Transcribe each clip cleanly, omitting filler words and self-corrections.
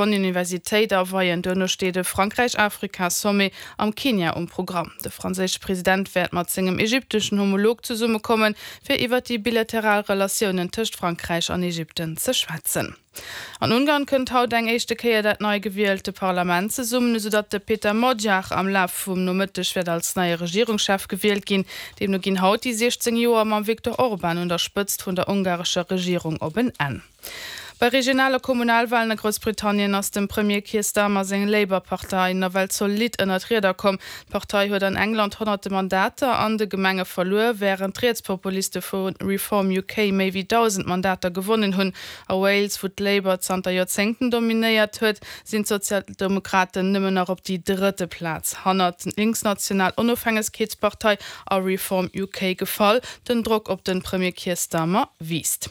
Universitéit aweien. Duerno steet e Frankräich-Afrika-Sommet am Kenia um Programm. De franséische President wäert mat sengem ägypteschen Homolog zesummekommen, fir iwwer déi bilateral Relatiounen tëscht Frankräich an Ägypten ze schwätzen. An Ungarn kënnt haut eng éischte Kéier dat nei gewielte Parlament zesummen, esou datt de Péter Magyar am Laf vum Nomëtteg wäert als neie Regierungschef gewielt ginn. Deemno ginn haut déi 16 Joer mam Viktor Orban un der Spëtzt vun der ungarescher Regierung op en Enn. Bei Regional a Kommunalwalen a Groussbritannien ass dem Premier Keir Starmer seng Labour-Partei nawell zolidd ënner d'Rieder komm. D'Partei huet an England honnerte Mandater an de Gemenge verluer, wärend d'Rietspopuliste vu Reform UK méi wéi 1.000 Mandater gewonnen hunn. A Wales, wou d'Labour zanter Joerzéngten dominéiert huet, sinn d'Sozialdemokraten nëmmen nach op déi drëtte Plaz hannert d'linksnational Onofhängegkeetspartei a Reform UK gefall. Den Drock op de Premier Keir Starmer wiisst.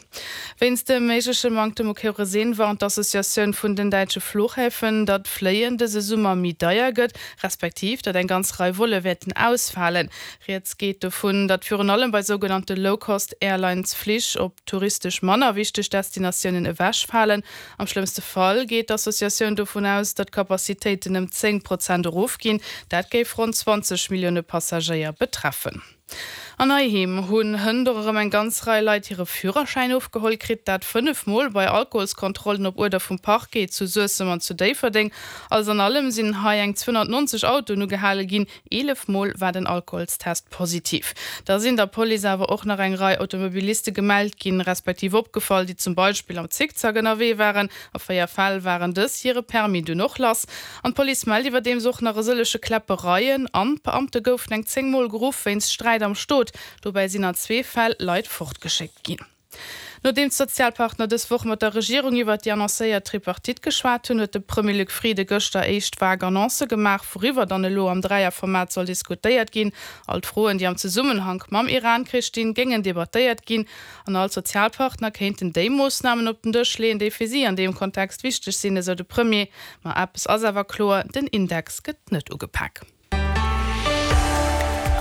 Wéinst dem méigleche Manktem u Kerosin warnt d'Associatioun vun den däitsche Fluchhäfen, datt d'Fléien dëse Summer méi deier gëtt, respektiv datt eng ganz Rei Volle wäerten ausfalen. Rieds geet dovun, datt virun allem bei sougenannte Low-Cost-Airlines Flich op touristesch manner wichteg Destinatiounen ewechfalen. Am schlëmmste Fall geet d'Associatioun dovun aus, datt d'Capacitéiten ëm 10 Prozent erofginn. Dat géif ronn 20 Millioune Passagéier betreffen. An Heiheem hunn hënt och erëm eng ganz Rei Leit hire Führerschäin ofgeholl kritt. Dat 5 Mol bei Alkoholskontrollen op Uerder vum Parquet zu Suessem an zu Déifferdeng. Alles an allem sinn hei eng 290 Autoen ugehale ginn. 11 Mol war den Alkoholstest positiv. Da sinn der Police awer och nach eng Rei Automobiliste gemellt ginn, respektiv opgefall, déi zum Beispill am Zickzack ënnerwee waren. A 4 Fäll waren dës hire Permis dunn och lass. An d'Police mellt iwwerdeems och nach e sëllege Kläppereien an d'Beamte goufen eng 10 Mol geruff wéinst Sträit am Stot. Dobäi sinn an zwee Fäll Leit fortgeschéckt ginn. Nodeems d'Sozialpartner dës Woch mat der Regierung iwwert déi annoncéiert Tripartite geschwat hunn, huet de Premier Luc Frieden gëschter éischt vag Annoncë gemaach, wouriwwer dann elo am Dräierformat soll diskutéiert ginn. All d'Froen, déi am Zesummenhank mam Iran-Krich stinn, géingen debattéiert ginn. An all d'Sozialpartner kéinten déi Moossnamen op den Dësch leeën, déi fir si an deem Kontext wichteg sinn, esou de Premier. Ma eppes ass awer kloer, den Index gëtt net ugepak.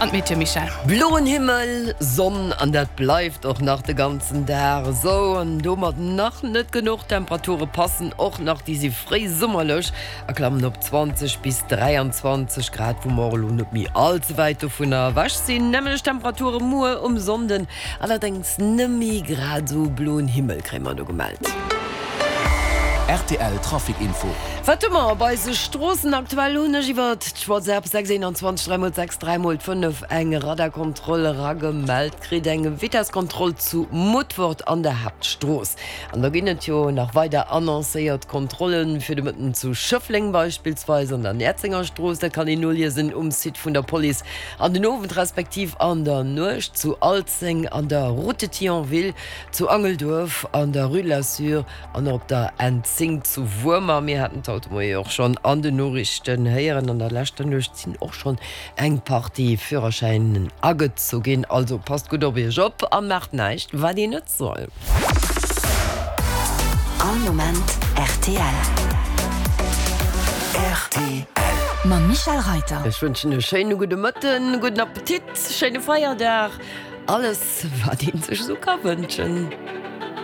An d'Meteo, Michèle? Bloen Himmel, Sonn an dat bleift och nach de ganzen Dag esou. An domat nach net genuch, d'Temperature passen och nach, déi si fréi summerlech a klammen op 20 bis 23 Grad, wou mer och elo net méi all ze wäit dovunner ewech sinn. Nämmlecht Temperature muer um Sonnden, Allerdéngs nëmme grad esou bloen Himmel kréie mer do gemellt. Rtl Trafic Info. Wat hu mer op eise Stroossen aktuell? Hunn ech iwwert d'Whatsapp 6 21 3 x 6 3 x 5 eng Radarkontroll eragemellt kritt, eng Vitesskontroll zu Mutfert an der Haaptstrooss. An da ginn et jo nach weider annoncéiert Kontrollen fir de Mëtten zu Schëffleng beispillsweis an der Näerzengerstrooss. Dat kann een noliesen um Site vun der Police. An den Owend respektiv an der Nuecht zu Alzeng an der Route de Thionville, zu Angelduerf an der Rue de la Sûre an och op der N10 zu Wuermer. Mir haten et haut de Moie och schonn an den Noriichten héieren, an der leschter Nuecht sinn och schonn eng Partie Führerschäinen agezu ginn. Also passt gutt op iech op a maacht näischt wat een net soll. All Moment rtl. Rtl. Mam Michèle Reiter. Ech wënschen e schéine gudde Mëtten, gudden Appetit, schéine Feierdag, alles wat een sech esou ka wënschen.